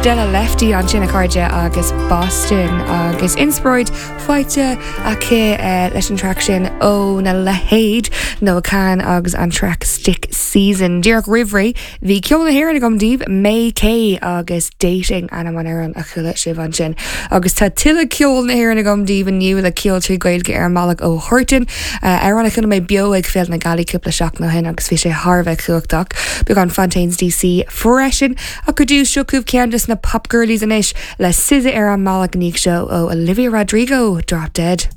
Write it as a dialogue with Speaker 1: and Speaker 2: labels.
Speaker 1: Stella Lefty ansin a chairde agus Boston agus inspioráid faighte aici leis an traic sin óna leithéid Noah Kahan agus an traic Stick Season. Díreach roimh ré bhí ceol na hÉireann agam daoibh, May Kay agus Dating ainm an amhráin a chuala sibh ansin. Agus tá tuilleadh ceol na hÉireann agam daoibh inniu le ceol 3 Gaeilge ar an mbealach ó Huartan, amhrán a chuala mé beo ag Féile na Gealaí cúpla seachtain ó shin agus bhí sé thar a bheith cumhachtach. Beagán Fontaines DC freisin. Ach ar dtús, seo chugaibh ceann de na pop girlies anois le SZA ar an mbealach i ndiaidh seo ó Olivia Rodrigo, Drop Dead.